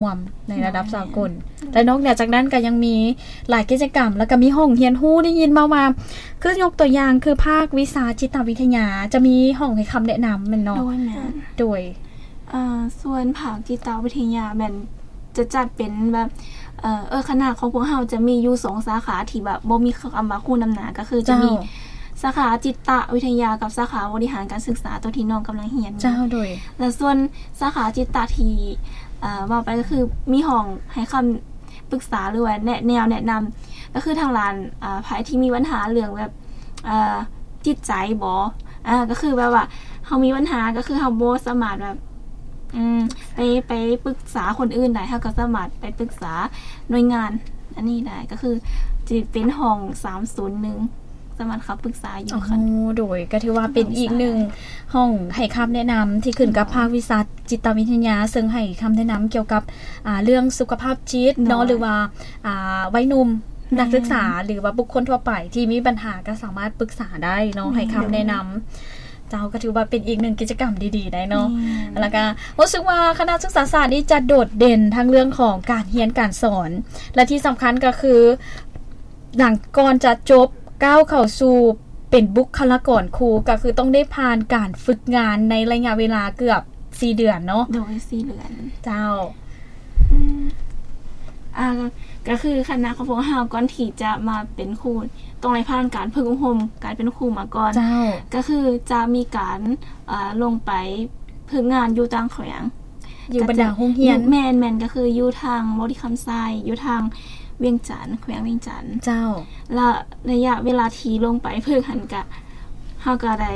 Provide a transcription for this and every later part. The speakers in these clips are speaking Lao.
ຮ່ວມໃນລະດັບສາກົນ. ແລະນອກເໜືອຈາກນັ້ນກໍຍັງມີຫຼາຍກິດຈະກຳ ແລ້ວກໍມີຫ້ອງຮຽນຮູ້ ໄດ້ຍິນມາວ່າ ຄືຍົກຕົວຢ່າງຄືພາກວິຊາຈິດຕະວິທະຍາ ຈະມີຫ້ອງໃຫ້ຄຳແນະນຳແມ່ນເນາະ? ໂດຍ ແມ່ນ ໂດຍ ເອີ ສ່ວນພາກຈິດຕະວິທະຍາແມ່ນຈະຈັດເປັນແບບ ເອີ ເອີ ຄະນະຂອງພວກເຮົາຈະມີຢູ່ສອງສາຂາທີ່ແບບບໍ່ມີຄຳວ່າຄູນຳໜ້າ ກໍຄືຈະມີ ເຈົ້າ ສາຂາຈິດຕະວິທະຍາກັບສາຂາບໍລິຫານການສຶກສາ ຕົວທີ່ນ້ອງກຳລັງຮຽນຢູ່. ເຈົ້າ ໂດຍ ແລະສ່ວນສາຂາຈິດຕະທີ່ ເອີ ເວົ້າໄປກໍຄືມີຫ້ອງໃຫ້ຄຳປຶກສາ ຫຼືວ່າແນະ ແນວແນະນຳ ກໍຄືທາງດ້ານ ເອີ ໃຜທີ່ມີບັນຫາເລື່ອງແບບ ເອີ ຈິດໃຈບໍ ເອີ ກໍຄືແບບວ່າເຮົາມີບັນຫາ ກໍຄືເຮົາບໍ່ສາມາດແບບ ອືມ ໄປ ໄປປຶກສາຄົນອື່ນໄດ້ ເຮົາກໍສາມາດໄປປຶກສາໜ່ວຍງານອັນນີ້ໄດ້ ກໍຄືຊິເປັນຫ້ອງສາມສູນໜຶ່ງ ສາມາດເຂົ້າປຶກສາຢູ່. ໂອ້ໂຫ ໂດຍ ກໍຖືວ່າເປັນອີກໜຶ່ງຫ້ອງໃຫ້ຄຳແນະນຳທີ່ຂຶ້ນກັບພາກວິຊາຈິດຕະວິທະຍາ ເຊິ່ງໃຫ້ຄຳແນະນຳກ່ຽວກັບ ອ່າ ເລື່ອງສຸຂະພາບຈິດເນາະ ໂດຍ ຫຼືວ່າ ອ່າ ໄວໜຸ່ມ ແມ່ນ ນັກສຶກສາ ຫຼືວ່າບຸກຄົນທົ່ວໄປທີ່ມີບັນຫາກໍສາມາດປຶກສາໄດ້ເນາະ ແມ່ນ ໃຫ້ຄຳແນະນຳ. ເຈົ້າ ກໍຖືວ່າເປັນອີກໜຶ່ງກິດຈະກຳດີໆໄດ໋ເນາະ. ແມ່ນ ແລ້ວກໍຮູ້ສຶກວ່າຄະນະສຶກສາສາດນີ້ຈະໂດດເດັ່ນທັງເລື່ອງຂອງການຮຽນການສອນ ແລະທີ່ສຳຄັນກໍຄື ຫຼັງກ່ອນຈະຈົບກ້າວເຂົ້າສູ່ເປັນບຸກຄະລາກອນຄູ ກໍຄືຕ້ອງໄດ້ຜ່ານການຝຶກງານໃນໄລຍະເວລາເກືອບສີ່ເດືອນເນາະ. ໂດຍ ສີ່ເດືອນ. ເຈົ້າ. ອືມ ອ່າ ກໍຄືຄະນະຂອງພວກເຮົາກ່ອນທີ່ຈະມາເປັນຄູ ຕ້ອງໄດ້ຜ່ານການຝຶກອົບຮົມການເປັນຄູມາກ່ອນ. ເຈົ້າ. ກໍຄືຈະມີການ ເອີ ລົງໄປຝຶກງານຢູ່ຕ່າງແຂວງ ຢູ່ບັນດາໂຮງຮຽນ. ແມ່ນໆ ກໍຄືຢູ່ທາງບໍລິຄຳໄຊ ຢູ່ທາງວຽງຈັນ ແຂວງວຽງຈັນ. ເຈົ້າ. ແລະໄລຍະເວລາທີ່ລົງໄປຝຶກຫັ້ນກະ ເຮົາກໍໄດ້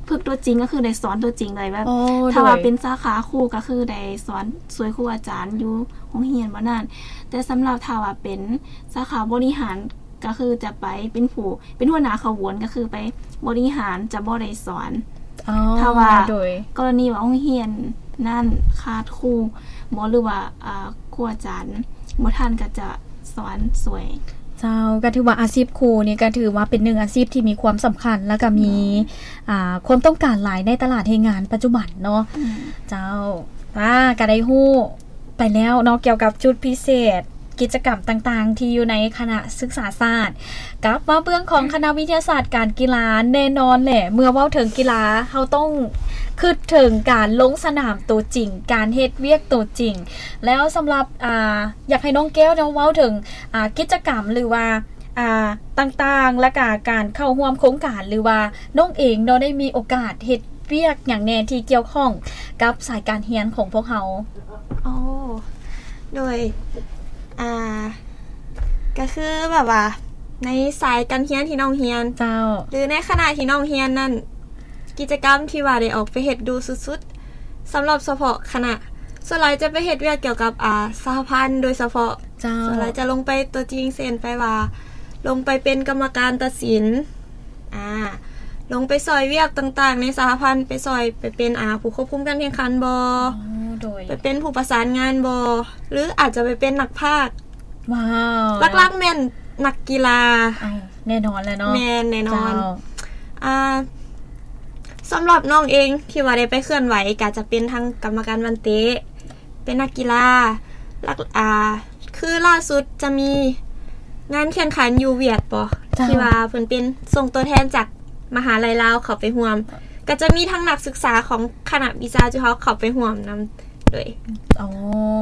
ຝຶກຕົວຈິງ ກໍຄືໄດ້ສອນຕົວຈິງເລີຍ ແບບ ໂອ້ ຖ້າວ່າ ໂດຍ ເປັນສາຂາຄູກໍຄືໄດ້ສອນຊ່ວຍຄູອາຈານຢູ່ໂຮງຮຽນບໍ່ນັ້ນ. ແຕ່ສຳລັບຖ້າວ່າເປັນສາຂາບໍລິຫານ ກໍຄືຈະໄປເປັນຜູ້ ເປັນຫົວໜ້າຂະບວນ ກໍຄືໄປບໍລິຫານ ຈະບໍ່ໄດ້ສອນ. ອໍ ຖ້າວ່າ ໂດຍ ກໍລະນີວ່າໂຮງຮຽນນັ້ນຂາດຄູບໍ ຫຼືວ່າ ອ່າ ຄູອາຈານບໍ່ທັນ ກໍຈະສອນຊ່ວຍ. ເຈົ້າ. ກໍຖືວ່າອາຊີບຄູນີ້ກໍຖືວ່າເປັນໜຶ່ງອາຊີບທີ່ມີຄວາມສຳຄັນ ແລ້ວກໍມີ ໂດຍ ອ່າ ຄວາມຕ້ອງການຫຼາຍໃນຕະຫຼາດແຮງງານປັດຈຸບັນເນາະ. ອືມ. ເຈົ້າ. ອ່າ ກໍໄດ້ຮູ້ ໄປແລ້ວເນາະ ກ່ຽວກັບຈຸດພິເສດ ກິດຈະກຳຕ່າງໆທີ່ຢູ່ໃນຄະນະສຶກສາສາດ. ກັບມາເບື້ອງຂອງຄະນະວິທະຍາສາດການກິລາ ແນ່ນອນແຫຼະ ເມື່ອເວົ້າເຖິງກິລາ ເຮົາຕ້ອງຄິດເຖິງການລົງສະໜາມໂຕຈິງ ການເຮັດວຽກໂຕຈິງ. ແລ້ວສຳລັບ ອ່າ ຢາກໃຫ້ນ້ອງແກ້ວເນາະ ເວົ້າເຖິງ ອ່າ ກິດຈະກຳ ຫຼືວ່າ ອ່າ ຕ່າງໆ ແລະກະການເຂົ້າຮ່ວມໂຄງການ ຫຼືວ່ານ້ອງເອງເນາະ ໄດ້ມີໂອກາດເຮັດວຽກຫຍັງແດ່ທີ່ກ່ຽວຂ້ອງກັບສາຍການຮຽນຂອງພວກເຮົາ? ໂອ້ ໂດຍ ອ່າ ກະຄືແບບວ່າໃນສາຍການຮຽນທີ່ນ້ອງຮຽນ ເຈົ້າ ຫຼືໃນຄະນະທີ່ນ້ອງຮຽນນັ້ນ ກິດຈະກຳທີ່ວ່າໄດ້ອອກໄປເຮັດດູສຸດໆ ສຳລັບສະເພາະຄະນະ ສ່ວນຫຼາຍຈະໄປເຮັດວຽກກ່ຽວກັບ ອ່າ ສະຫະພັນໂດຍສະເພາະ. ເຈົ້າ. ສ່ວນຫຼາຍຈະລົງໄປຕົວຈິງ ເຊັ່ນ ໄປວ່າລົງໄປເປັນກຳມະການຕັດສິນ ອ່າ ລົງໄປຊ່ອຍວຽກຕ່າງໆໃນສະຫະພັນ ໄປຊ່ອຍ ໄປເປັນ ອ່າ ຜູ້ຄວບຄຸມການແຂ່ງຂັນບໍ ອໍ ໂດຍ ໄປເປັນຜູ້ປະສານງານບໍ ຫຼືອາດຈະໄປເປັນນັກພາກ. ວ້າວ. ຫຼັກໆແມ່ນນັກກິລາ. ເອົ້າ ແນ່ນອນແຫຼະເນາະ. ແມ່ນ ແນ່ນອນ. ເຈົ້າ. ອ່າ ສຳລັບນ້ອງເອງທີ່ວ່າໄດ້ໄປເຄື່ອນໄຫວ ກະຈະເປັນທັງກຳມະການບານເຕະ ເປັນນັກກິລາ ຫຼັກ ອ່າ ຄືລ່າສຸດຈະມີງານແຂ່ງຂັນຢູ່ຫວຽດບໍ ເຈົ້າ ທີ່ວ່າເພິ່ນເປັນສົ່ງຕົວແທນຈາກມະຫາໄລລາວເຂົ້າໄປຮ່ວມ ກະຈະມີທັງນັກສຶກສາຂອງຄະນະວິຊາຈຸເຮົາເຂົ້າໄປຮ່ວມນຳ. ໂດຍ ອໍ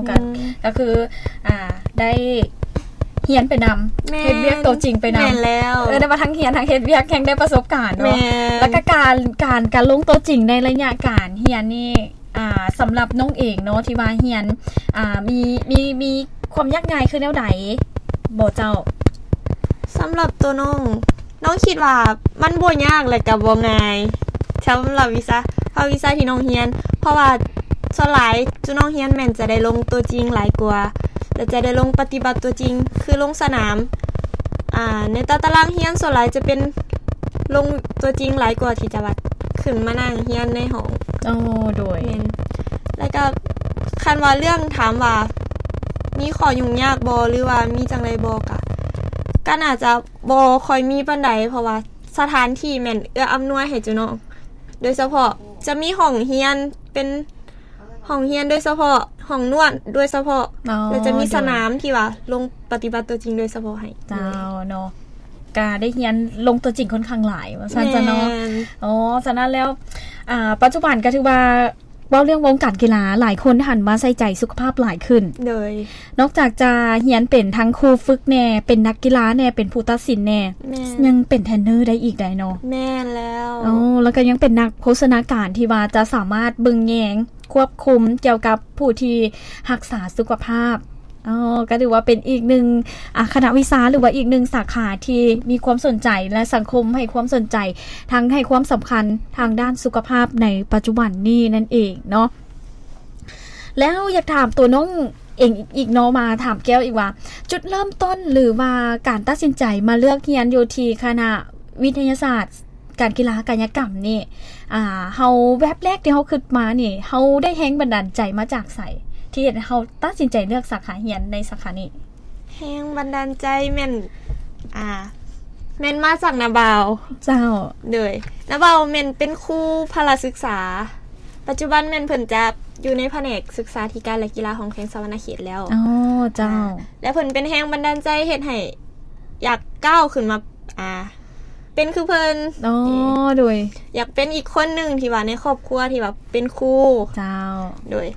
ກະ ອືມ ກະຄື ອ່າ ໄດ້ຮຽນໄປນຳ ແມ່ນ ເຮັດວຽກໂຕຈິງໄປນຳ. ແມ່ນແລ້ວ. ເອີ ໄດ້ວ່າທັງຮຽນທັງເຮັດວຽກ ແຮ່ງໄດ້ປະສົບການເນາະ. ແມ່ນ. ແລ້ວກະການ ການ ການລົງໂຕຈິງໃນໄລຍະການຮຽນນີ້ ອ່າ ສຳລັບນ້ອງເອງເນາະ ທີ່ວ່າຮຽນ ອ່າ ມີ ມີ ມີຄວາມຍາກງ່າຍຄືແນວໃດບໍເຈົ້າ? ສຳລັບໂຕນ້ອງ ນ້ອງຄິດວ່າມັນບໍ່ຍາກ ແລະກະບໍ່ງ່າຍ ສຳລັບວິຊາ ພາກວິຊາທີ່ນ້ອງຮຽນ ເພາະວ່າສ່ວນຫຼາຍຈຸນ້ອງຮຽນແມ່ນຈະໄດ້ລົງຕົວຈິງຫຼາຍກວ່າ ແລະຈະໄດ້ລົງປະຕິບັດຕົວຈິງ ຄືລົງສະໜາມ ອ່າ ໃນຕາຕະລາງຮຽນສ່ວນຫຼາຍຈະເປັນລົງຕົວຈິງຫຼາຍກວ່າທີ່ຈະວ່າຂຶ້ນມານັ່ງຮຽນໃນຫ້ອງ. ໂອ້ ໂດຍ. ແມ່ນ. ແລ້ວກະຄັນວ່າເລື່ອງຖາມວ່າມີຂໍ້ຫຍຸ້ງຍາກບໍ່ ຫຼືວ່າມີຈັ່ງໃດບໍ່ ກະ ກະໜ້າຈະ ບໍ່ຄ່ອຍມີປານໃດ ເພາະວ່າສະຖານທີ່ແມ່ນເອື້ອອຳນວຍໃຫ້ເຈົ້ານ້ອງ ໂດຍສະເພາະຈະມີຫ້ອງຮຽນເປັນ ຫ້ອງຮຽນໂດຍສະເພາະ, ຫ້ອງນວດໂດຍສະເພາະ, ອໍ ແລ້ວຈະມີສະໜາມທີ່ວ່າລົງປະຕິບັດຕົວຈິງໂດຍສະເພາະໃຫ້. ເຈົ້າເນາະ, ກະໄດ້ຮຽນລົງຕົວຈິງຄ່ອນຂ້າງຫຼາຍວ່າຊັ້ນຊະເນາະ. ແມ່ນ. ອໍ ສະນັ້ນແລ້ວ ອ່າ ປັດຈຸບັນກໍຖືວ່າ ເວົ້າເລື່ອງວົງການກິລາ ຫຼາຍຄົນຫັນມາໃສ່ໃຈສຸຂະພາບຫຼາຍຂຶ້ນ. ໂດຍ ນອກຈາກຈະຮຽນເປັນທັງຄູຝຶກແດ່, ເປັນນັກກິລາແດ່, ເປັນຜູ້ຕັດສິນແດ່, ແມ່ນ ຍັງເປັນເທຣນເນີໄດ້ອີກໄດ໋ເນາະ. ແມ່ນແລ້ວ. ໂອ້ ແລ້ວກໍຍັງເປັນນັກໂພຊະນາການທີ່ວ່າຈະສາມາດເບິ່ງແຍງ, ຄວບຄຸມກ່ຽວກັບຜູ້ທີ່ຮັກສາສຸຂະພາບ. ອໍ ກໍຖືວ່າເປັນອີກໜຶ່ງ ອາ ຄະນະວິຊາ ຫຼືວ່າອີກໜຶ່ງສາຂາທີ່ມີຄວາມສົນໃຈ ແລະ ສັງຄົມໃຫ້ຄວາມສົນໃຈ ທັງໃຫ້ຄວາມສຳຄັນທາງດ້ານສຸຂະພາບໃນປັດຈຸບັນນີ້ນັ້ນເອງເນາະ. ແລ້ວຢາກຖາມຕົວນ້ອງເອງອີກເນາະ, ມາຖາມແກ້ວອີກວ່າ ຈຸດເລີ່ມຕົ້ນ ຫຼືວ່າການຕັດສິນໃຈມາເລືອກຮຽນຢູ່ທີ່ຄະນະວິທະຍາສາດ ການກິລາກາຍະກຳນີ້ ອ່າ ເຮົາ ແວັບແລກທີ່ເຮົາຄິດມານີ້ ເຮົາໄດ້ແຮງບັນດານໃຈມາຈາກໃສ ທີ່ເຮັດໃຫ້ເຮົາຕັດສິນໃຈເລືອກສາຂາຮຽນໃນສາຂານີ້? ແຮງບັນດານໃຈແມ່ນ ອ່າ ແມ່ນມາຈາກນ້າບ່າວ. ເຈົ້າ. ໂດຍ ນ້າບ່າວແມ່ນເປັນຄູພະລະສຶກສາ, ປັດຈຸບັນແມ່ນເພິ່ນຈະຢູ່ໃນພະແນກສຶກສາທິການ ແລະ ກິລາຂອງແຂວງສະຫວັນນະເຂດແລ້ວ. ອໍ ເຈົ້າ. ອ່າ ແລະ ເພິ່ນເປັນແຮງບັນດານໃຈເຮັດໃຫ້ຢາກກ້າວຂຶ້ນມາ ອ່າ ເປັນຄືເພິ່ນ. ອໍ ໂດຍ ຢາກເປັນອີກຄົນໜຶ່ງທີ່ວ່າໃນຄອບຄົວທີ່ວ່າເປັນຄູ. ເຈົ້າ. ໂດຍ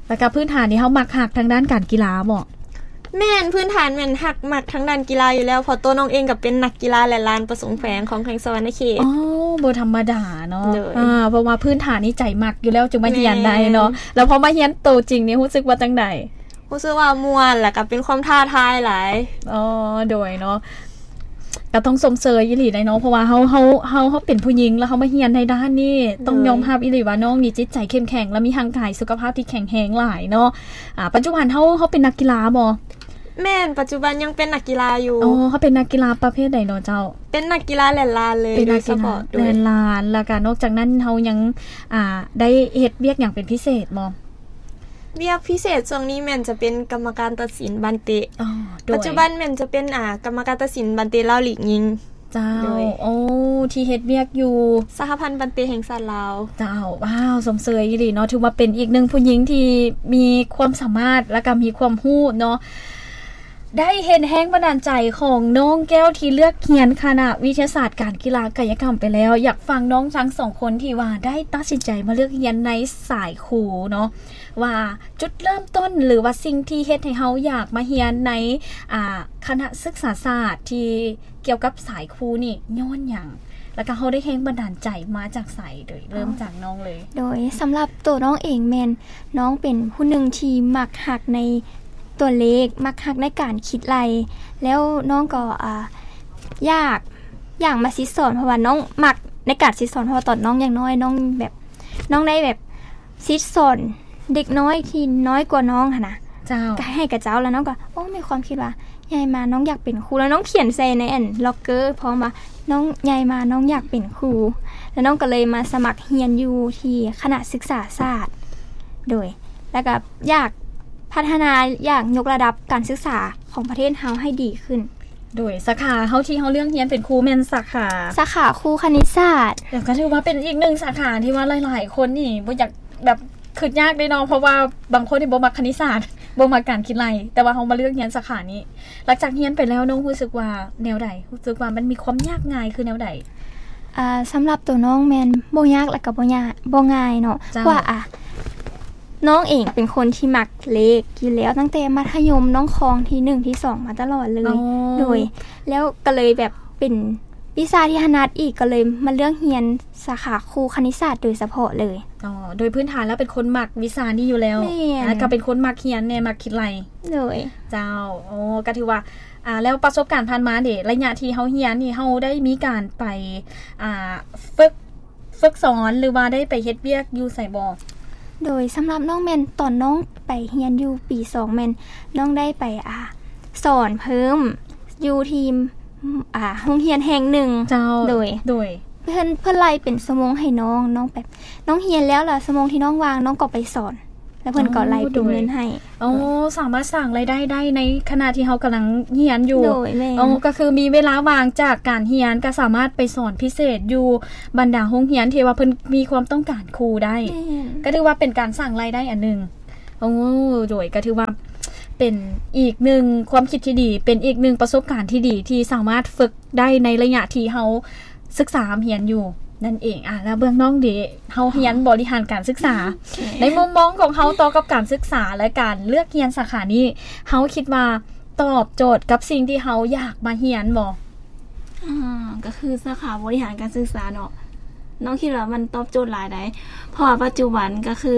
ແລ້ວກໍພື້ນຖານນີ້ເຮົາມັກຮັກທາງດ້ານການກິລາບໍ? ແມ່ນ, ພື້ນຖານແມ່ນຮັກມັກທາງດ້ານກິລາຢູ່ແລ້ວ, ເພາະໂຕນ້ອງເອງກໍເປັນນັກກິລາແລ່ນລານປະສົມແຂວງຂອງແຂວງສະຫວັນນະເຂດ. ອໍ ບໍ່ທຳມະດາເນາະ. ໂດຍ. ອ່າ ເພາະວ່າພື້ນຖານນີ້ໃຈມັກຢູ່ແລ້ວ ຈຶ່ງມາຮຽນໄດ້ເນາະ. ແມ່ນ. ແລ້ວພໍມາຮຽນໂຕຈິງນີ້ ຮູ້ສຶກວ່າຈັ່ງໃດ? ຮູ້ສຶກວ່າມ່ວນ ແລ້ວກໍເປັນຄວາມທ້າທາຍຫຼາຍ. ອໍ ໂດຍເນາະ, ກໍຕ້ອງຊົມເຊີຍອີ່ຫຼີໄດ໋ເນາະ, ເພາະວ່າເຮົາ ເຮົາ ເຮົາ ເຮົາເປັນຜູ້ຍິງ ແລ້ວເຮົາມາຮຽນໃນດ້ານນີ້ ຕ້ອງຍອມຮັບອີ່ຫຼີວ່ານ້ອງນີ້ຈິດໃຈເຂັ້ມແຂງ ແລະ ມີຮ່າງກາຍສຸຂະພາບທີ່ແຂງແຮງຫຼາຍເນາະ. ອ່າ ປັດຈຸບັນເຮົາ ເຮົາເປັນນັກກິລາບໍ? ແມ່ນ, ປັດຈຸບັນຍັງເປັນນັກກິລາຢູ່. ອໍ ເຮົາເປັນນັກກິລາປະເພດໃດເນາະເຈົ້າ? ເປັນນັກກິລາແລ່ນລານເລີຍ. ເປັນນັກກິລາແລ່ນລານ. ແລ້ວກໍນອກຈາກນັ້ນເຮົາຍັງ ອ່າ ໄດ້ເຮັດວຽກຫຍັງເປັນພິເສດບໍ່? ວຽກພິເສດຊ່ວງນີ້ແມ່ນຈະເປັນກຳມະການຕັດສິນບານເຕະ. ອໍ ໂດຍ. ປັດຈຸບັນແມ່ນຈະເປັນ ອ່າ ກຳມະການຕັດສິນບານເຕະລາວລີກຍິງ. ເຈົ້າ. ໂດຍ. ໂອ້ ທີ່ເຮັດວຽກຢູ່ສະຫະພັນບານເຕະແຫ່ງຊາດລາວ. ເຈົ້າ. ວ້າວ ຊົມເຊີຍອີ່ຫຼີເນາະ, ຖືວ່າເປັນອີກໜຶ່ງຜູ້ຍິງທີ່ມີຄວາມສາມາດ ແລ້ວກໍມີຄວາມຮູ້ເນາະ. ໄດ້ເຫັນແຮງບັນດານໃຈຂອງນ້ອງແກ້ວທີ່ເລືອກຮຽນຄະນະວິທະຍາສາດການກິລາກາຍະກຳໄປແລ້ວ, ຢາກຟັງນ້ອງທັງສອງຄົນທີ່ວ່າໄດ້ຕັດສິນໃຈມາເລືອກຮຽນໃນສາຍຄູເນາະ ວ່າຈຸດເລີ່ມຕົ້ນ ຫຼືວ່າສິ່ງທີ່ເຮັດໃຫ້ເຮົາຢາກມາຮຽນໃນ ອ່າ ຄະນະສຶກສາສາດທີ່ກ່ຽວກັບສາຍຄູນີ້ຍ້ອນຫຍັງ? ແລ້ວກໍເຮົາໄດ້ແຮງບັນດານໃຈມາຈາກໃສ? ໂດຍເລີ່ມຈາກນ້ອງເລີຍ. ໂດຍ ສຳລັບໂຕນ້ອງເອງແມ່ນ ນ້ອງເປັນຜູ້ໜຶ່ງທີ່ມັກຮັກໃນຕົວເລກ, ມັກຮັກໃນການຄິດໄລ່, ແລ້ວນ້ອງກໍ ອ່າ ຢາກ ຢາກມາສິດສອນ ເພາະວ່ານ້ອງມັກໃນການສິດສອນ, ເພາະວ່າຕອນນ້ອງຍັງນ້ອຍ ນ້ອງແບບ ນ້ອງໄດ້ແບບສິດສອນເດັກນ້ອຍທີ່ນ້ອຍກວ່ານ້ອງຫັ້ນນະ. ເຈົ້າ. ກໍໃຫ້ກັບເຈົ້າ ແລ້ວນ້ອງກໍ ໂອ້ ມີຄວາມຄິດວ່າ ໃຫຍ່ມານ້ອງຢາກເປັນຄູ ແລ້ວນ້ອງຂຽນໃສ່ໃນອັນລັອກເກີພ້ອມວ່າ ນ້ອງໃຫຍ່ມານ້ອງຢາກເປັນຄູ ແລ້ວນ້ອງກໍເລີຍມາສະໝັກຮຽນຢູ່ທີ່ຄະນະສຶກສາສາດ. ໂດຍ ແລ້ວກໍຢາກພັດທະນາ ຢາກຍົກລະດັບການສຶກສາຂອງປະເທດເຮົາໃຫ້ດີຂຶ້ນ. ໂດຍ ສາຂາເຮົາທີ່ເຮົາເລືອກຮຽນເປັນຄູແມ່ນສາຂາ ສາຂາຄູຄະນິດສາດ. ແລ້ວກໍຖືວ່າເປັນອີກໜຶ່ງສາຂາທີ່ວ່າຫຼາຍໆຄົນນີ້ບໍ່ຢາກ ແບບຄິດຍາກເດ້ເນາະ ເພາະວ່າບາງຄົນນີ້ບໍ່ມັກຄະນິດສາດ ບໍ່ມັກການຄິດໄລ່ ແຕ່ວ່າເຮົາມາເລືອກຮຽນສາຂານີ້. ຫຼັງຈາກຮຽນໄປແລ້ວນ້ອງຮູ້ສຶກວ່າແນວໃດ? ຮູ້ສຶກວ່າມັນມີຄວາມຍາກງ່າຍຄືແນວໃດ? ອ່າ ສຳລັບໂຕນ້ອງແມ່ນບໍ່ຍາກ ແລ້ວກໍບໍ່ຍາກ ບໍ່ງ່າຍເນາະ. ເຈົ້າ. ເພາະວ່າ ອ່າ ນ້ອງເອງເປັນຄົນທີ່ມັກເລກຢູ່ແລ້ວ ຕັ້ງແຕ່ມັດທະຍົມນ້ອງຄອງທີໜຶ່ງ ທີສອງ ມາຕະຫຼອດເລີຍ. ອໍ. ໂດຍ ແລ້ວກໍເລີຍແບບເປັນ ວິຊາທີ່ຖະໜັດອີກ ກໍເລີຍມາເລືອກຮຽນສາຂາຄູຄະນິດສາດໂດຍສະເພາະເລີຍ. ອໍ ໂດຍພື້ນຖານແລ້ວເປັນຄົນມັກວິຊານີ້ຢູ່ແລ້ວ. ແມ່ນ. ອ່າ ກໍເປັນຄົນມັກຮຽນແດ່ ມັກຄິດໄລ່. ໂດຍ. ເຈົ້າ. ໂອ້ ກໍຖືວ່າ ອ່າ ແລ້ວປະສົບການຜ່ານມາເດ ໄລຍະທີ່ເຮົາຮຽນນີ້ ເຮົາໄດ້ມີການໄປ ອ່າ ຝຶກ ຝຶກສອນ ຫຼືວ່າໄດ້ໄປເຮັດວຽກຢູ່ໃສບໍ່? ໂດຍ ສຳລັບນ້ອງແມ່ນຕອນນ້ອງໄປຮຽນຢູ່ປີສອງ ແມ່ນນ້ອງໄດ້ໄປ ອ່າ ສອນເພີ່ມຢູ່ທີ່ ອ່າ ໂຮງຮຽນແຫ່ງໜຶ່ງ. ເຈົ້າ. ໂດຍ ໂດຍ ເພິ່ນ ເພິ່ນໄລ່ເປັນຊົ່ວໂມງໃຫ້ນ້ອງ ນ້ອງແບບ ນ້ອງຮຽນແລ້ວ ແລ້ວຊົ່ວໂມງທີ່ນ້ອງວ່າງ ນ້ອງກໍໄປສອນ. ແລ້ວເພິ່ນກໍໄລ່ເປັນເງິນໃຫ້. ອໍ ສາມາດສ້າງລາຍໄດ້ໄດ້ໃນຂະນະທີ່ເຮົາກຳລັງຮຽນຢູ່. ໂດຍ ແມ່ນ. ອໍ ກໍຄືມີເວລາວ່າງຈາກການຮຽນ ກໍສາມາດໄປສອນພິເສດຢູ່ບັນດາໂຮງຮຽນທີ່ວ່າເພິ່ນມີຄວາມຕ້ອງການຄູໄດ້. ແມ່ນ. ກໍຖືວ່າເປັນການສ້າງລາຍໄດ້ອັນໜຶ່ງ. ໂອ້ ໂດຍ ກໍຖືວ່າເປັນອີກໜຶ່ງຄວາມຄິດທີ່ດີ ເປັນອີກໜຶ່ງປະສົບການທີ່ດີ ທີ່ສາມາດຝຶກໄດ້ໃນໄລຍະທີ່ເຮົາສຶກສາຮຽນຢູ່ນັ້ນເອງ. ອາ ແລ້ວເບື້ອງນ້ອງເດ ເຮົາຮຽນບໍລິຫານການສຶກສາ ໃນມຸມມອງຂອງເຮົາຕໍ່ກັບການສຶກສາ ແລະ ການເລືອກຮຽນສາຂານີ້ ເຮົາຄິດວ່າຕອບໂຈດກັບສິ່ງທີ່ເຮົາຢາກມາຮຽນບໍ່? ອາ ກໍຄືສາຂາບໍລິຫານການສຶກສາເນາະ ນ້ອງຄິດວ່າມັນຕອບໂຈດຫຼາຍໃດ ເພາະວ່າປັດຈຸບັນກໍຄື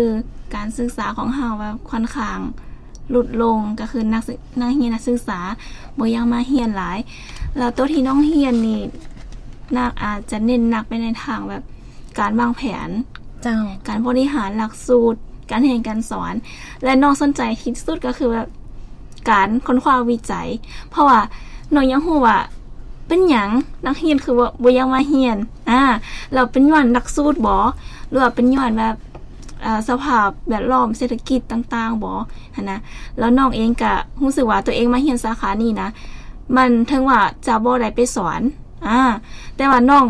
ການສຶກສາຂອງເຮົາແບບຄ່ອນຂ້າງຫຼຸດລົງ ກໍຄືນັກສຶ ນັກຮຽນນັກສຶກສາບໍ່ຢາກມາຮຽນຫຼາຍ ແລ້ວໂຕທີ່ນ້ອງຮຽນນີ້ ໜັກ ອາດຈະເນັ້ນໜັກໄປໃນທາງແບບການວາງແຜນ ເຈົ້າ ການບໍລິຫານຫຼັກສູດ ການຮຽນການສອນ ແລະ ນ້ອງສົນໃຈທີ່ສຸດກໍຄືແບບ ການຄົ້ນຄວ້າວິໄຈ ເພາະວ່ານ້ອງຢາກຮູ້ວ່າເປັນຫຍັງນັກຮຽນຄືວ່າບໍ່ຢາກມາຮຽນ ອາ ແລ້ວເປັນຍ້ອນຫຼັກສູດບໍ ຫຼືວ່າເປັນຍ້ອນແບບ ອາ ສະພາບແວດລ້ອມເສດຖະກິດຕ່າງໆບໍຫັ້ນນະ. ແລ້ວນ້ອງເອງກະຮູ້ສຶກວ່າຕົວເອງມາຮຽນສາຂານີ້ນະ ມັນເຖິງວ່າຈະບໍ່ໄດ້ໄປສອນ ອາ ແຕ່ວ່ານ້ອງ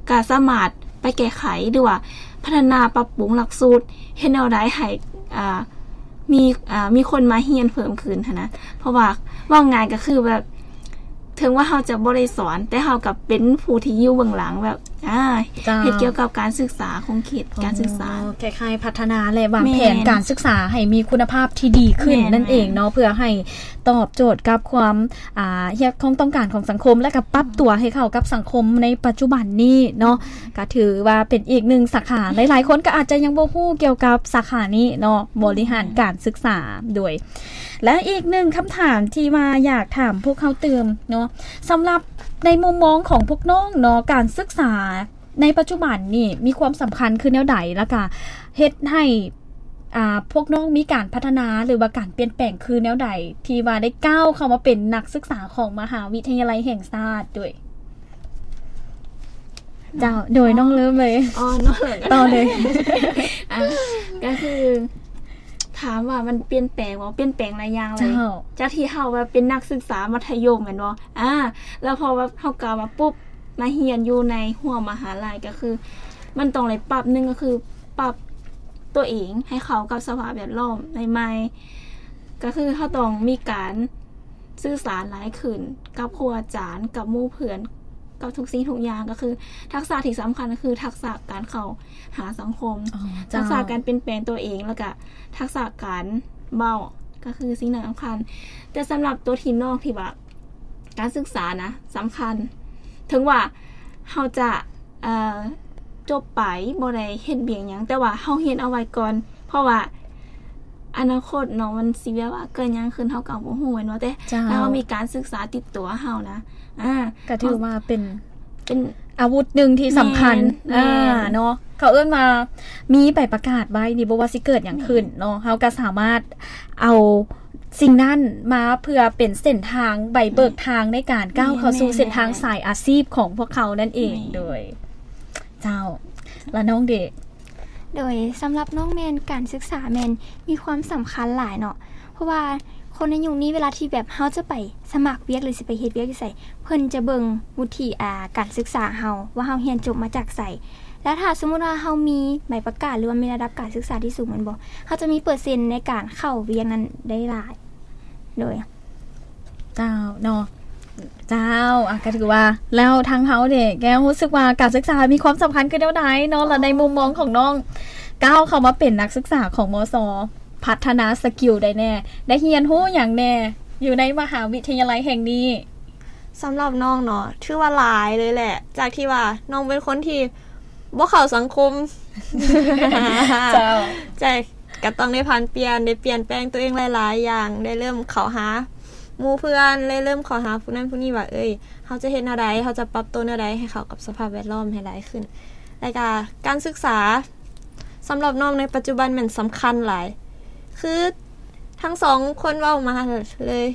ກະສາມາດໄປແກ້ໄຂ ຫຼືວ່າພັດທະນາປັບປຸງຫຼັກສູດ ເຮັດແນວໃດໃຫ້ ອາ ມີ ອາ ມີຄົນມາຮຽນເພີ່ມຂຶ້ນຫັ້ນນະ ເພາະວ່າເວົ້າງ່າຍກໍຄືແບບ ເຖິງວ່າເຮົາຈະບໍ່ໄດ້ສອນ ແຕ່ເຮົາກໍເປັນຜູ້ທີ່ຢູ່ເບື້ອງຫຼັງແບບ ອາ ເຈົ້າ ເຮັດກ່ຽວກັບການສຶກສາ ຂົງເຂດການສຶກສາ ອໍ ຄ້າຍໆພັດທະນາ ແລະ ວາງແຜນ ແມ່ນ ການສຶກສາໃຫ້ມີຄຸນນະພາບທີ່ດີຂຶ້ນ ແມ່ນ ນັ້ນເອງເນາະ ເພື່ອໃຫ້ຕອບໂຈດກັບຄວາມ ອາ ຮຽກຮ້ອງຕ້ອງການຂອງສັງຄົມ ແລະ ກໍປັບຕົວໃຫ້ເຂົ້າກັບສັງຄົມໃນປັດຈຸບັນນີ້ເນາະ. ກໍຖືວ່າເປັນອີກໜຶ່ງສາຂາ ຫຼາຍໆຄົນກໍອາດຈະຍັງບໍ່ຮູ້ກ່ຽວກັບສາຂານີ້ເນາະ ບໍລິຫານການສຶກສາ ໂດຍ ແລະ ອີກໜຶ່ງຄຳຖາມທີ່ວ່າຢາກຖາມພວກເຮົາຕື່ມເນາະ ສຳລັບໃນມຸມມອງຂອງພວກນ້ອງເນາະ ການສຶກສາໃນປັດຈຸບັນນີ້ມີຄວາມສຳຄັນຄືແນວໃດ ແລ້ວກະເຮັດໃຫ້ ອາ ພວກນ້ອງມີການພັດທະນາ ຫຼືວ່າການປ່ຽນແປງຄືແນວໃດ ທີ່ວ່າໄດ້ກ້າວເຂົ້າມາເປັນນັກສຶກສາຂອງມະຫາວິທະຍາໄລແຫ່ງຊາດ ໂດຍ ເຈົ້າ ໂດຍ ອໍ ນ້ອງເລີ່ມເລີຍ. ອໍ ນ້ອງເລີ່ມ ຕໍ່ເລີຍ. ອາ ກໍຄື ຖາມວ່າມັນປ່ຽນແປງບໍ່? ປ່ຽນແປງຫຼາຍຢ່າງເລີຍ. ເຈົ້າ. ຈາກທີ່ເຮົາແບບເປັນນັກສຶກສາມັດທະຍົມແມ່ນບໍ່? ອາ ແລ້ວພໍແບບເຮົາກ້າວມາປຸບ ມາຮຽນຢູ່ໃນຮົ້ວມະຫາໄລ ກໍຄືມັນຕ້ອງໄດ້ປັບ ໜຶ່ງກໍຄືປັບຕົວເອງໃຫ້ເຂົ້າກັບສະພາບແວດລ້ອມໃໝ່ໆ ກໍຄືເຮົາຕ້ອງມີການສື່ສານຫຼາຍຂຶ້ນກັບຄູອາຈານ ກັບໝູ່ເພື່ອນ ກັບທຸກສິ່ງທຸກຢ່າງ ກໍຄືທັກສະທີ່ສຳຄັນກໍຄືທັກສະການເຂົ້າຫາສັງຄົມ ອໍ ເຈົ້າ ທັກສະການປ່ຽນແປງຕົວເອງ ແລ້ວກະທັກສະການເວົ້າ ກໍຄືສິ່ງນັ້ນສຳຄັນ. ແຕ່ສຳລັບຕົວທີ່ນ້ອງທີ່ວ່າ ການສຶກສານະສຳຄັນ ເຖິງວ່າເຮົາຈະ ເອີ ຈົບໄປ ບໍ່ໄດ້ເຮັດວຽກຫຍັງ ແຕ່ວ່າເຮົາຮຽນເອົາໄວ້ກ່ອນ ເພາະວ່າອະນາຄົດເນາະ ມັນຊິແບບວ່າເກີດຫຍັງຂຶ້ນເຮົາກໍບໍ່ຮູ້ແມ່ນບໍ່ ແຕ່ ເຈົ້າ ຖ້າເຮົາມີການສຶກສາຕິດຕົວເຮົານະ ອາ ກໍຖືວ່າເປັນ ເປັນອາວຸດໜຶ່ງທີ່ສຳຄັນ ແມ່ນ ອາ ແມ່ນ ເນາະ ເຂົາເອີ້ນວ່າມີໃບປະກາດໄວ້ນີ້ ບໍ່ວ່າຊິເກີດຫຍັງຂຶ້ນເນາະ ເຮົາກໍສາມາດເອົາ ສິ່ງນັ້ນມາເພື່ອເປັນເສັ້ນທາງ ໃບເບີກທາງໃນການກ້າວເຂົ້າສູ່ເສັ້ນທາງສາຍອາຊີບຂອງພວກເຂົານັ້ນເອງ. ໂດຍ ເຈົ້າ ລະນ້ອງເດ? ໂດຍ ສຳລັບນ້ອງແມ່ນການສຶກສາແມ່ນມີຄວາມສຳຄັນຫຼາຍເນາະ ເພາະວ່າຄົນໃນຍຸກນີ້ເວລາທີ່ແບບເຮົາຈະໄປສະໝັກວຽກ ຫຼື ຊິໄປເຮັດວຽກຢູ່ໃສ ເພິ່ນຈະເບິ່ງວຸດທິ ອາ ການສຶກສາເຮົາວ່າເຮົາຮຽນຈົບມາຈາກໃສ ແລ້ວຖ້າສົມມຸດວ່າເຮົາມີໃບປະກາດ ຫຼືວ່າມີລະດັບການສຶກສາທີ່ສູງແມ່ນບໍ່ ເຮົາຈະມີເປີເຊັນໃນການເຂົ້າວຽກນັ້ນໄດ້ຫຼາຍ. ໂດຍ ເຈົ້າ ເນາະ ເຈົ້າ ອາ ກໍຖືວ່າ ແລ້ວທາງເຮົາເດ ແກ້ວ ຮູ້ສຶກວ່າການສຶກສາມີຄວາມສຳຄັນຄືແນວໃດເນາະ ແລະ ໃນມຸມມອງຂອງນ້ອງ ກ້າວເຂົ້າມາເປັນນັກສຶກສາຂອງ ມສ ພັດທະນາສະກິວໃດແດ່ ໄດ້ຮຽນຮູ້ຫຍັງແດ່ ຢູ່ໃນມະຫາວິທະຍາໄລແຫ່ງນີ້? ສຳລັບນ້ອງເນາະ ຖືວ່າຫຼາຍເລີຍແຫຼະ ຈາກທີ່ວ່ານ້ອງເປັນຄົນທີ່ບໍ່ເຂົ້າສັງຄົມ ເຈົ້າ ໃຊ່ ກໍຕ້ອງໄດ້ຜັນປ່ຽນ ໄດ້ປ່ຽນແປງຕົວເອງຫຼາຍໆຢ່າງ ໄດ້ເລີ່ມເຂົ້າຫາໝູ່ເພື່ອນ ໄດ້ເລີ່ມເຂົ້າຫາຜູ້ນັ້ນຜູ້ນີ້ວ່າ ເອີຍ ເຮົາຈະເຮັດແນວໃດ ເຮົາຈະປັບໂຕແນວໃດໃຫ້ເຂົ້າກັບສະພາບແວດລ້ອມໃຫ້ຫຼາຍຂຶ້ນ ແລ້ວກໍການສຶກສາ ສຳລັບນ້ອງໃນປັດຈຸບັນແມ່ນສຳຄັນຫຼາຍ ຄືທັງສອງຄົນເວົ້າມາເລີຍ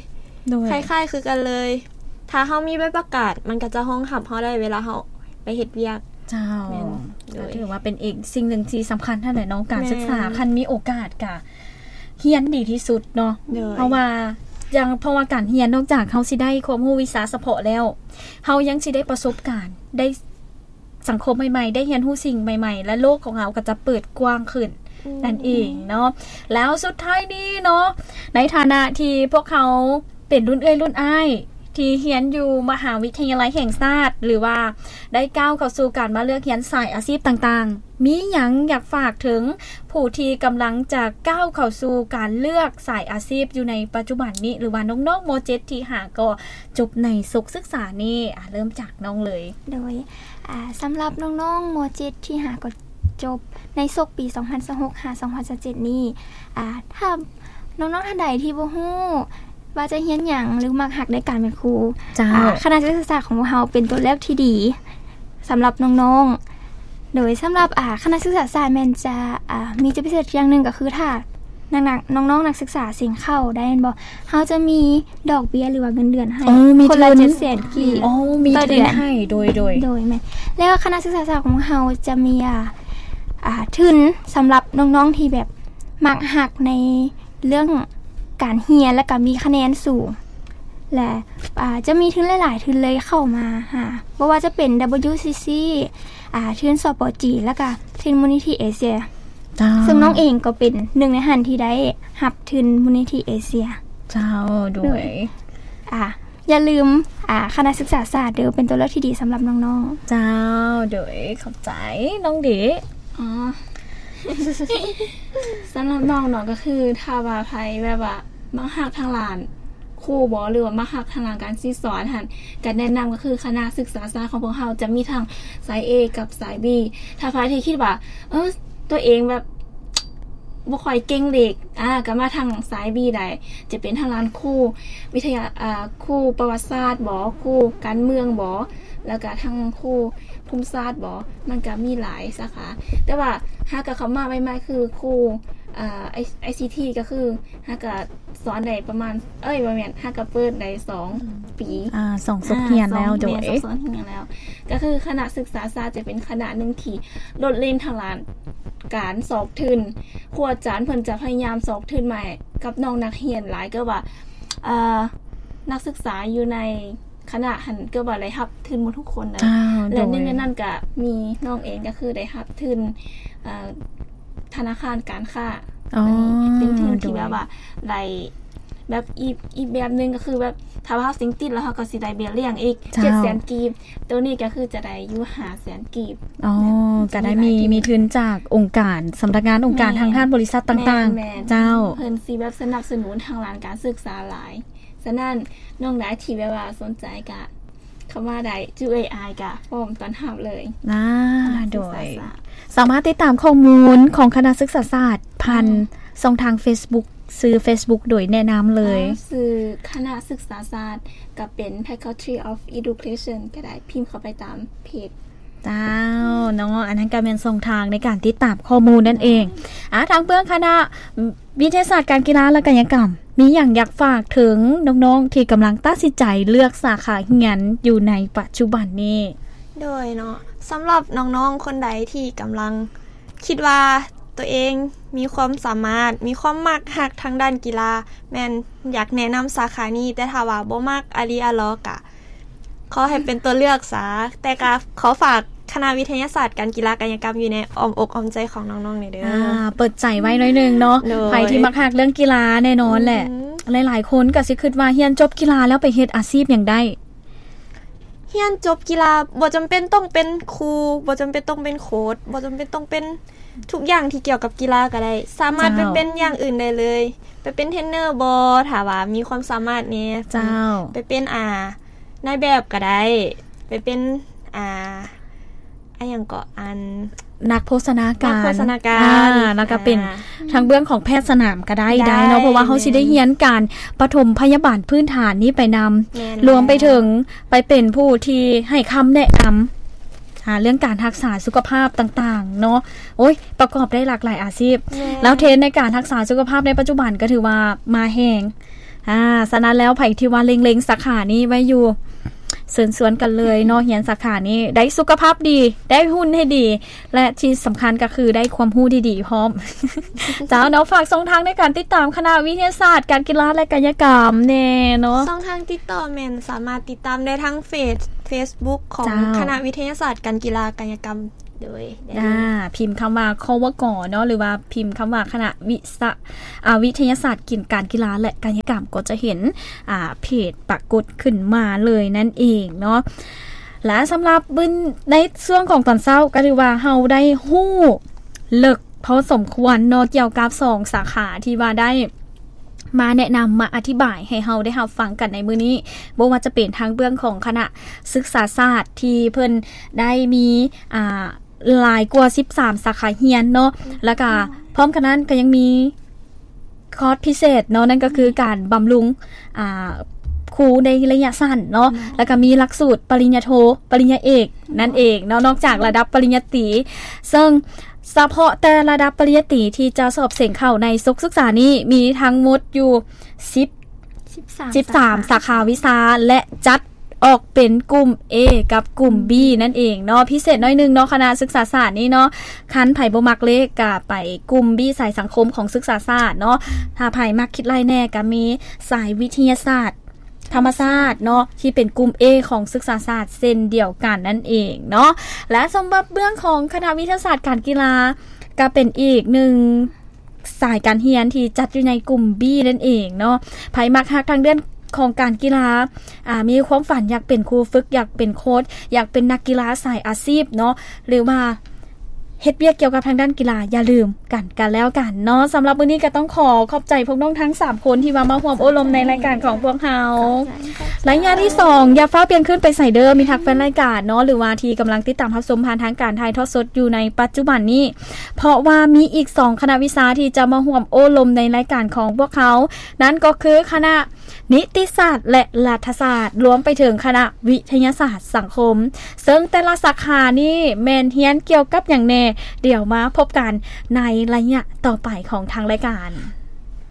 ໂດຍ ຄ້າຍໆຄືກັນເລີຍ ຖ້າເຮົາມີໃບປະກາດ ມັນກໍຈະຮອງຮັບເຮົາໄດ້ເວລາເຮົາໄປເຮັດວຽກ. ເຈົ້າ ແມ່ນ ໂດຍ ກໍຖືວ່າເປັນອີກສິ່ງໜຶ່ງທີ່ສຳຄັນຫັ້ນແຫຼະເນາະ ການສຶກສາ ແມ່ນ ຄັນມີໂອກາດກະ ຮຽນດີທີ່ສຸດເນາະ ໂດຍ ເພາະວ່າ ຢ່າງ ເພາະວ່າການຮຽນນອກຈາກເຮົາຊິໄດ້ຄວາມຮູ້ວິຊາສະເພາະແລ້ວ ເຮົາຍັງຊິໄດ້ປະສົບການ ໄດ້ສັງຄົມໃໝ່ໆ ໄດ້ຮຽນຮູ້ສິ່ງໃໝ່ໆ ແລະ ໂລກຂອງເຮົາກໍຈະເປີດກວ້າງຂຶ້ນ ອືມ ນັ້ນເອງເນາະ. ແລ້ວສຸດທ້າຍນີ້ເນາະ ໃນຖານະທີ່ພວກເຮົາເປັນລຸ້ນເອື້ອຍລຸ້ນອ້າຍ ທີ່ຮຽນຢູ່ມະຫາວິທະຍາໄລແຫ່ງຊາດ ຫຼືວ່າໄດ້ກ້າວເຂົ້າສູ່ການມາເລືອກຮຽນສາຍອາຊີບຕ່າງໆ ມີຫຍັງຢາກຝາກເຖິງຜູ້ທີ່ກຳລັງຈະກ້າວເຂົ້າສູ່ການເລືອກສາຍອາຊີບຢູ່ໃນປັດຈຸບັນນີ້ ຫຼືວ່ານ້ອງໆ ມໍເຈັດ ທີ່ຫາກໍຈົບໃນສົກສຶກສານີ້? ອາ ເລີ່ມຈາກນ້ອງເລີຍ. ໂດຍ ອາ ສຳລັບນ້ອງໆ ມໍເຈັດ ທີ່ຫາກໍຈົບໃນສົກປີສອງພັນຊາວຫົກ ຫາ ສອງພັນຊາວເຈັດນີ້ ອາ ຖ້ານ້ອງໆ ທ່ານໃດທີ່ບໍ່ຮູ້ ວ່າຈະຮຽນຫຍັງ ຫຼື ມັກຮັກໃນການເປັນຄູ ເຈົ້າ ອາ ຄະນະສຶກສາສາດຂອງພວກເຮົາເປັນຕົວເລືອກທີ່ດີສຳລັບນ້ອງໆ. ໂດຍສຳລັບ ອາ ຄະນະສຶກສາສາດແມ່ນຈະ ອາ ມີຈຸດພິເສດຢ່າງໜຶ່ງກໍຄື ຖ້ານັກ ນັກ ນ້ອງໆ ນັກສຶກສາເສັງເຂົ້າໄດ້ແມ່ນບໍ່ ເຮົາຈະມີດອກເບ້ຍ ຫຼືວ່າເງິນເດືອນໃຫ້ ໂອ້ ມີ ຄົນລະ ທຶນ ເຈັດແສນກີບ ໂອ້ ມີ ຕໍ່ເດືອນ ທຶນໃຫ້ ໂດຍ ໂດຍ ໂດຍ ແມ່ນ ແລ້ວຄະນະສຶກສາສາດຂອງເຮົາຈະມີ ອາ ອາ ທຶນສຳລັບນ້ອງໆ ທີ່ແບບມັກຮັກໃນ ເລື່ອງການຮຽນ ແລະ ກະມີຄະແນນສູງ ແລະ ອາ ຈະມີທຶນຫຼາຍໆ ທຶນເລີຍເຂົ້າມາຫາ ບໍ່ວ່າຈະເປັນ WCC ອາ ທຶນ ສປ ຈີນ ແລະ ກະທຶນມູນນິທິເອເຊຍ ເຈົ້າ ເຊິ່ງນ້ອງເອງກໍເປັນໜຶ່ງໃນຫັ້ນທີ່ໄດ້ຮັບທຶນມູນນິທິເອເຊຍ ເຈົ້າ ໂດຍ ໂດຍ ອາ ຢ່າລືມ ອາ ຄະນະສຶກສາສາດເດີ ເປັນຕົວເລືອກທີ່ດີສຳລັບນ້ອງໆ ເຈົ້າ ໂດຍ ຂອບໃຈ ນ້ອງເດ. ອໍ ສຳລັບນ້ອງເນາະ ກໍຄືຖ້າວ່າໃຜແບບວ່າມັກຮັກທາງດ້ານຄູບໍ ຫຼືວ່າມັກຮັກທາງດ້ານການສິດສອນຫັ້ນ ກໍແນະນຳກໍຄືຄະນະສຶກສາສາດຂອງພວກເຮົາຈະມີທັງສາຍ A ກັບສາຍ B. ຖ້າໃຜທີ່ຄິດວ່າ ເອີ ຕົວເອງແບບ ບໍ່ຄ່ອຍເກັ່ງເລກ ອາ ກໍມາທາງສາຍ B ໄດ້ ຈະເປັນທາງດ້ານຄູວິທະຍາ ອາ ຄູປະຫວັດສາດບໍ ຄູການເມືອງບໍ ແລ້ວກໍທາງຄູພູມສາດບໍ ມັນກໍມີຫຼາຍສາຂາ. ແຕ່ວ່າຫາກໍເຂົ້າມາໃໝ່ໆ ຄືຄູ ອາ ໄອ ໄອຊີທີ ກໍຄືຫາກໍສອນໄດ້ປະມານ ເອີຍ ບໍ່ແມ່ນ ຫາກໍເປີດໄດ້ສອງ ອືມ ປີ ອາ ສອງສົກຮຽນແລ້ວ ອາ ໂດຍ ສອງ ແມ່ນ ສອງສົກຮຽນແລ້ວ ກໍຄືຄະນະສຶກສາສາດຈະເປັນຄະນະໜຶ່ງທີ່ໂດດເດັ່ນທາງດ້ານການຊອກທຶນ ຄູອາຈານເພິ່ນຈະພະຍາຍາມຊອກທຶນມາໃຫ້ກັບນ້ອງນັກຮຽນຫຼາຍ ເກືອບວ່າ ເອີ ນັກສຶກສາຢູ່ໃນຄະນະຫັ້ນ ເກືອບວ່າໄດ້ຮັບທຶນໝົດທຸກຄົນເລີຍ ເຈົ້າ ແລະ ໂດຍ ໜຶ່ງໃນນັ້ນກະມີນ້ອງເອງ ກະຄືໄດ້ຮັບທຶນ ເອີ ທະນາຄານການຄ້າ ອໍ ເປັນທຶນທີ່ ໂດຍ ແບບວ່າໄດ້ ແບບອີກ ອີກແບບໜຶ່ງກໍຄືແບບ ຖ້າວ່າເຮົາເສັງຕິດແລ້ວ ເຮົາກໍຊິໄດ້ເບ້ຍລ້ຽງອີກ ເຈົ້າ ເຈັດແສນກີບ ໂຕນີ້ກໍຄືຈະໄດ້ຢູ່ຫ້າແສນກີບ ອໍ ແບບ ກໍໄດ້ມີ ມີຫຼາຍທຶນ ມີທຶນຈາກອົງການ ສຳນັກງານອົງການ ແມ່ນ ທາງດ້ານບໍລິສັດຕ່າງໆ ແມ່ນໆ ເຈົ້າ ເພິ່ນຊິແບບສະໜັບສະໜູນທາງດ້ານການສຶກສາຫຼາຍ. ສະນັ້ນ ນ້ອງໃດທີ່ແບບວ່າສົນໃຈກະເຂົ້າມາໄດ້ ຈຸເອີຍ ອ້າຍກະພ້ອມຕ້ອນຮັບເລີຍ ອາ ໂດຍ ສາມາດຕິດຕາມຂໍ້ມູນຂອງຄະນະສຶກສາສາດຜ່ານ ອືມ ຊ່ອງທາງເຟສບຸກ ຊື່ເຟສບຸກໂດຍແນະນຳເລີຍ ອໍ ຊື່ຄະນະສຶກສາສາດ ກໍເປັນ Faculty of Education ກໍໄດ້ ພິມເຂົ້າໄປຕາມເພຈ ເຈົ້າ ເນາະ ອັນນັ້ນກໍແມ່ນຊ່ອງທາງໃນການຕິດຕາມຂໍ້ມູນນັ້ນເອງ ອືມ ອາ ທາງເບື້ອງຄະນະ ວິທະຍາສາດການກິລາ ແລະ ກາຍະກຳ ມີຫຍັງຢາກຝາກເຖິງນ້ອງໆ ທີ່ກຳລັງຕັດສິນໃຈເລືອກສາຂາຮຽນຢູ່ໃນປັດຈຸບັນນີ້? ໂດຍເນາະ ສຳລັບນ້ອງໆ ຄົນໃດທີ່ກຳລັງຄິດວ່າຕົວເອງມີຄວາມສາມາດ ມີຄວາມມັກຮັກທາງດ້ານກິລາ ແມ່ນຢາກແນະນຳສາຂານີ້ ແຕ່ຖ້າວ່າບໍ່ມັກອາລີອາລໍກະ ຂໍໃຫ້ເປັນຕົວເລືອກຊະ ແຕ່ກໍຂໍຝາກຄະນະວິທະຍາສາດການກິລາກາຍະກຳຢູ່ໃນອ້ອມອົກອ້ອມໃຈຂອງນ້ອງໆ ແດ່ເດີ ອາ ເປີດໃຈໄວ້ໜ້ອຍໜຶ່ງເນາະ ໂດຍ ໃຜທີ່ມັກຮັກເລື່ອງກິລາແນ່ນອນແຫຼະ ອືມ ຫຼາຍໆ ຄົນກໍຊິຄິດວ່າຮຽນຈົບກິລາແລ້ວໄປເຮັດອາຊີບຫຍັງໄດ້ ຮຽນຈົບກິລາບໍ່ຈຳເປັນຕ້ອງເປັນຄູ ບໍ່ຈຳເປັນຕ້ອງເປັນໂຄດ ບໍ່ຈຳເປັນຕ້ອງເປັນທຸກຢ່າງທີ່ກ່ຽວກັບກິລາກໍໄດ້ ສາມາດ ເຈົ້າ ໄປເປັນຢ່າງອື່ນໄດ້ເລີຍ ໄປເປັນເທຣນເນີບໍ ຖ້າວ່າມີຄວາມສາມາດແດ່ ເຈົ້າ ໄປເປັນ ອາ ນາຍແບບກໍໄດ້ ໄປເປັນ ອາ ອາຫຍັງເກາະ ອັນ ນັກໂພຊະນາການ ນັກໂພຊະນາການ ອາ ແລ້ວກໍເປັນ ອາ ທາງເບື້ອງຂອງແພດສະໜາມກໍໄດ້ ໄດ້ ໄດ້ເນາະ ເພາະວ່າເຮົາຊິໄດ້ຮຽນການປະຖົມພະຍາບານພື້ນຖານນີ້ໄປນຳ ແມ່ນ ລວມໄປເຖິງ ແລ້ວ ໄປເປັນຜູ້ທີ່ໃຫ້ຄຳແນະນຳ ອາ ເລື່ອງການຮັກສາສຸຂະພາບຕ່າງໆ ເນາະ ໂອ້ຍ ປະກອບໄດ້ຫຼາກຫຼາຍອາຊີບ ແມ່ນ ແລ້ວເທຣນໃນການຮັກສາສຸຂະພາບໃນປັດຈຸບັນກໍຖືວ່າມາແຮງ ອາ ສະນັ້ນແລ້ວໃຜທີ່ວ່າເລັງໆ ສາຂານີ້ໄວ້ຢູ່ ເຊີນຊວນກັນເລີຍເນາະ ຮຽນສາຂານີ້ ໄດ້ສຸຂະພາບດີ ໄດ້ຫຸ່ນໃຫ້ດີ ແລະ ທີ່ສຳຄັນກໍຄືໄດ້ຄວາມຮູ້ດີໆພ້ອມ. ເຈົ້າເນາະ ຝາກຊ່ອງທາງໃນການຕິດຕາມຄະນະວິທະຍາສາດການກິລາ ແລະ ກາຍະກຳແດ່ເນາະ. ຊ່ອງທາງຕິດຕໍ່ແມ່ນສາມາດຕິດຕາມໄດ້ທາງເຟສ ເຟສບຸກຂອງ ເຈົ້າ ຄະນະວິທະຍາສາດການກິລາ ກາຍະກຳ ໂດຍ ອ່າ ພິມຄຳວ່າ ຄວກ ເນາະ ຫຼືວ່າພິມຄຳວ່າຄະນະວິສະ ອ່າ ວິທະຍາສາດການກິລາ ແລະ ກາຍະກຳ ກໍຈະເຫັນ ອ່າ ເພຈປາກົດຂຶ້ນມາເລີຍນັ້ນເອງເນາະ. ແລະ ສຳລັບໃນຊ່ວງຂອງຕອນເຊົ້າ ກໍຖືວ່າເຮົາໄດ້ຮູ້ເລິກພໍສົມຄວນເນາະ ກ່ຽວກັບສອງສາຂາທີ່ວ່າໄດ້ ມາແນະນຳ ມາອະທິບາຍໃຫ້ເຮົາໄດ້ຮັບຟັງກັນໃນມື້ນີ້ ບໍ່ວ່າຈະເປັນທາງເບື້ອງຂອງຄະນະສຶກສາສາດທີ່ເພິ່ນໄດ້ມີ ອ່າ ຫຼາຍກວ່າສິບສາມສາຂາຮຽນເນາະ ແລ້ວກະພ້ອມກັນນັ້ນກໍຍັງມີຄອດພິເສດເນາະ ນັ້ນກໍຄືການບຳລຸງ ອ່າ ຄູໃນໄລຍະສັ້ນເນາະ ແລ້ວກະມີຫຼັກສູດປະລິນຍາໂທ ປະລິນຍາເອກນັ້ນເອງເນາະ ນອກຈາກລະດັບປະລິນຍາຕີ ເຊິ່ງ ສະເພາະແຕ່ລະດັບປະລິນຍາຕີທີ່ຈະສອບເສັງເຂົ້າໃນສົກສຶກສານີ້ ມີທັງໝົດຢູ່ສິບ ສິບສາມ ສິບສາມສາຂາ ສາຂາວິຊາ ແລະ ຈັດອອກເປັນກຸ່ມ A ກັບກຸ່ມ B ນັ້ນເອງເນາະ. ພິເສດໜ້ອຍໜຶ່ງເນາະ ຄະນະສຶກສາສາດນີ້ເນາະ ຄັນໃຜບໍ່ມັກເລກກະໄປກຸ່ມ B ສາຍສັງຄົມຂອງສຶກສາສາດເນາະ. ຖ້າໃຜມັກຄິດໄລ່ແດ່ກະມີສາຍວິທະຍາສາດ ທຳມະຊາດເນາະ ທີ່ເປັນກຸ່ມ A ຂອງສຶກສາສາດເຊັ່ນດຽວກັນນັ້ນເອງເນາະ ແລະ ສຳລັບເບື້ອງຂອງຄະນະວິທະຍາສາດການກິລາ ກໍເປັນອີກໜຶ່ງສາຍການຮຽນທີ່ຈັດຢູ່ໃນກຸ່ມ B ນັ້ນເອງເນາະ. ໃຜມັກຮັກທາງເລື່ອງຂອງການກິລາ ອ່າ ມີຄວາມຝັນຢາກເປັນຄູຝຶກ ຢາກເປັນໂຄດ ຢາກເປັນນັກກິລາສາຍອາຊີບເນາະ ຫຼືວ່າ ເຮັດວຽກກ່ຽວກັບທາງດ້ານກິລາ ຢ່າລືມກັນ ກັນແລ້ວກັນເນາະ. ສຳລັບມື້ນີ້ກໍຕ້ອງຂໍຂອບໃຈພວກນ້ອງທັງສາມຄົນທີ່ວ່າມາຮ່ວມໂອ້ລົມໃນລາຍການຂອງພວກເຮົາ. ໄລຍະທີສອງ ຢ່າຟ້າວປ່ຽນຄືນໄປໃສເດີ ມິດຮັກແຟນລາຍການເນາະ ຫຼືວ່າທີ່ກຳລັງຕິດຕາມຮັບຊົມຜ່ານທາງການຖ່າຍທອດສົດຢູ່ໃນປັດຈຸບັນນີ້ ເພາະວ່າມີອີກສອງຄະນະວິຊາທີ່ຈະມາຮ່ວມໂອ້ລົມໃນລາຍການຂອງພວກເຮົາ ນັ້ນກໍຄືຄະນະ ນິຕິສາດ ແລະ ລັດຖະສາດ ລວມໄປເຖິງຄະນະວິທະຍາສາດສັງຄົມ ເຊິ່ງແຕ່ລະສາຂານີ້ແມ່ນຮຽນກ່ຽວກັບຫຍັງແດ່ ດຽວມາພົບກັນໃນໄລຍະຕໍ່ໄປຂອງທາງລາຍການ.